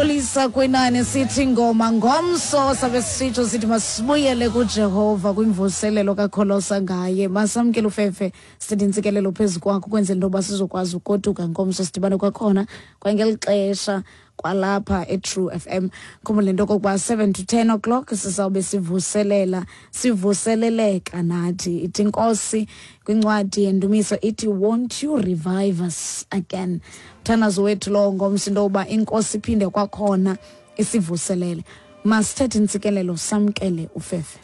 Siyaqolisa kwinani sithi ngoma ngomso sabe sisitsho sithi masibuyele kuJehova kwimvuselelo kakholosa ngaye. Masamkele ufefe sithi intsikelelo phezu kwakho kwenzela into yoba sizokwazi ugoduka ngomso sidibane kwakhona kwangeli xesha kwalapha eTrue FM. Khumbula into okokuba 7 to 10 o'clock sizawube sivuselela sivuseleleka nathi. Ithi Nkosi kwincwadi yendumiso ithi won't you revive us again. Mthandazo wethu lowo ngomso into yokuba inkosi iphinde kwakhona isivuselele. Masithethe intsikelelo samkele ufefe.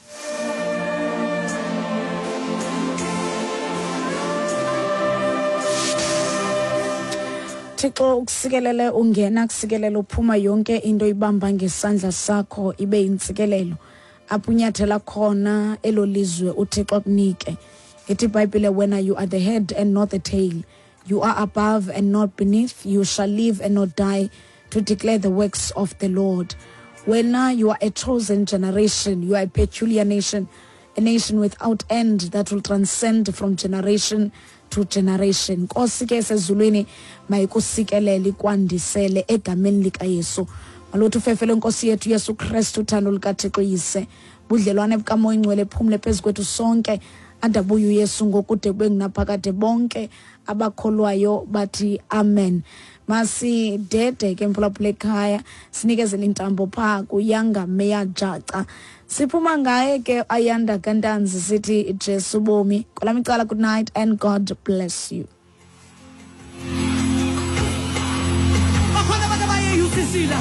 Thixo ukusikelele ungena kusikelele uphuma yonke into ibamba ngesandla sakho ibe intsikelelo apho unyathela khona elo lizwe uThixo akunike. Ithi iBhayibhile wena you are the head and not the tail. You are above and not beneath. You shall live and not die to declare the works of the Lord. Wena you are a chosen generation, you are a peculiar nation, a nation without end that will transcend from generation to generation. Nkosi ke sezulwini mayikusikelele ikwandisele egameni likaYesu. Malothi ufefe lwenkosi yethu Yesu Kristu uthando lukaThixo Yise budlelwane bukaMoya Ingcwele phumle phezu kwethu sonke adabuye uYesu ngokude kube ngunaphakade bonke abakholwayo bathi amen. Masidede ke mphulaphula ekhaya sinikezele intambo phaa kuyanga Meya Jaca. Siphuma ngaye ke Ayanda Kantanzi sithi Jesu bomi. Kwelam icala good night and God bless you. Bakhona abantu abaye UCC la.